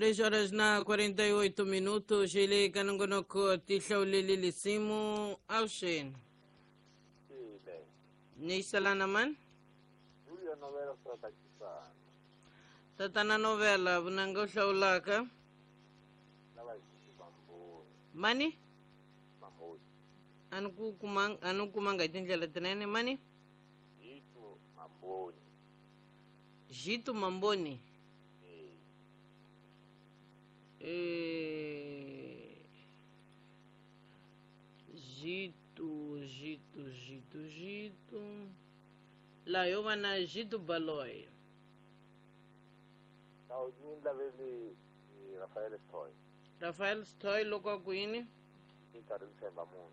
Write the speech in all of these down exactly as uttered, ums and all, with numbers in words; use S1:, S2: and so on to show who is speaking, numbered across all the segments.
S1: Três horas na quarenta e oito minutos, ele kanongonoko tihlaulele lisimu awuxeni.
S2: Ile.
S1: Ni salana man?
S2: Julio novela swa
S1: Tatana novela vunanga u hlawulaka.
S2: Lava Mamboni.
S1: Mani?
S2: Mamboni.
S1: Ani ku kumanga ani kumanga hi tindlela tinene mani?
S2: Jitu Mamboni.
S1: Jitu Mamboni.
S2: Eh.
S1: Eh, Jitu, Jitu, Jitu, Jitu. La yo va na Jitu Baloy.
S2: Tawunyinda veli Rafael Stoy.
S1: Rafael Stoy loko a ku yini?
S2: Ni nkarhi ni tshemba munhu.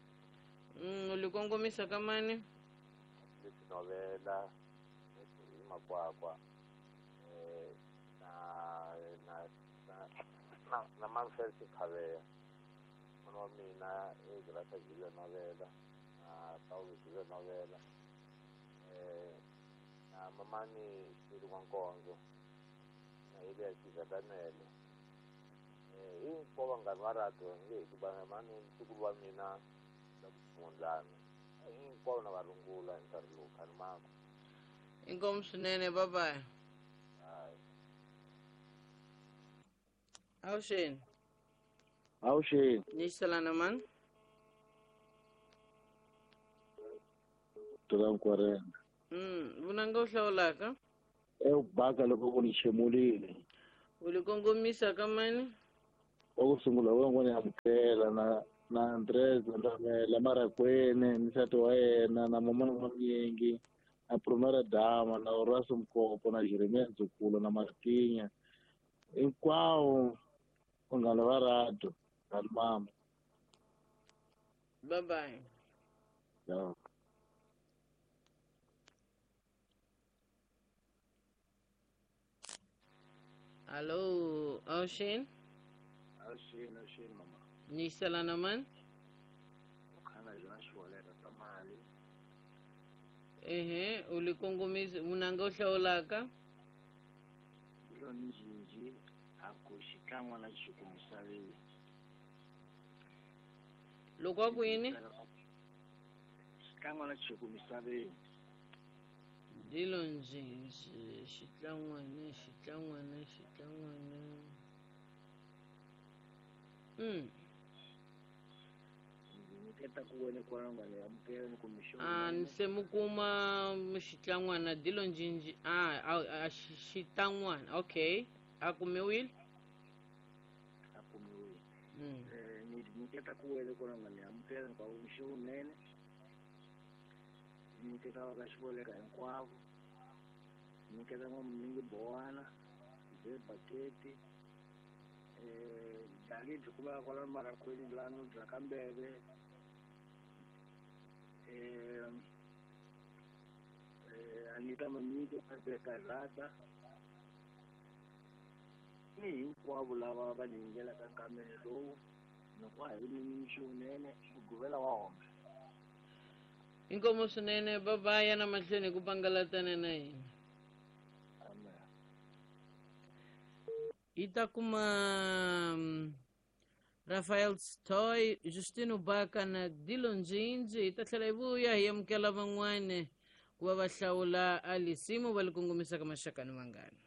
S1: Mm, u li kongomisa ka mani?
S2: Leswi novela hi makwakwa eh na na na na na Manfred Khaveya. N'wana wa mina i Grasa Julio novela na Paulo Julio novela eh na mamani Xiri wa Nkonzo na Elias Daniel. Eh hinkwavo vanghana va radio nge hi ku mani ntukulu wa mina la ku hinkwavo na va rungula hi nkarhi lowu khani mako.
S1: Inkomu swinene, bye bye.
S2: Hayi.
S1: Awuxeni.
S3: Awuxeni.
S1: Ni salana man?
S3: Tura Nkwarena.
S1: Mm, vunanga u hlawulaka?
S3: E baka loko ku ni xemulile.
S1: U li kongomisa ka mani?
S3: Wa ku sungula wa n'wana amukela na na Andres Ndamela Marakwene ni nsati wa yena na mamana wa Myingi na Promera Dama na Horace Mkopo na Jeremia Nzukulo na Martinya hinkwavo vanghana va radio na mama.
S1: Bye bye.
S3: Yeah.
S1: Allo, awuxeni.
S2: Awuxeni, awuxeni mama.
S1: Ni salana man?
S2: Khana jona xivoleka ta mali.
S1: Ehe, u li kongomisa vunanga u hlawulaka?
S2: Lo ni jinji a ku xikan'we na xiku misaveni.
S1: Loko a ku yini?
S2: Xikan'we na xiku misaveni.
S1: Dilo njinji xitlangwana xitlangwana xitlangwana. Mm.
S2: Nyiketa ku wena kwala ngale amukela ni kumixo.
S1: Ah, ni se mu kuma xitlangwana dilo njinji ah a xitlangwana. Okay. A kumiwile?
S2: A kumiwile.
S1: Mm.
S2: Eh ni nyiketa ku wena kwala ngale amukela ni kumixo nene. Nyiketa ka xivoleka hinkwavo. Nyiketa n'wamuningi Bowana, Ze Baketi. Eh dali byi kumeka kwala Marakwini lano bya Kambeve. Eh eh Anita Mamiki Kazata. Ni hinkwavo lava va yingelaka nkamelo lowu loko a hi ni mixo wunene mugqivela wa hombe.
S1: Inkomu swinene, bye bye yana mahlweni ku pangalatana na hina.
S2: Amen.
S1: Yi ta kuma Rafael Stoy, Justino Baka na Dilo Njinji. Yi ta tlhela yi vuya hi amukela van'wana ku va va hlawula a lisimu va li kongomisa ka maxaka ni vanghana.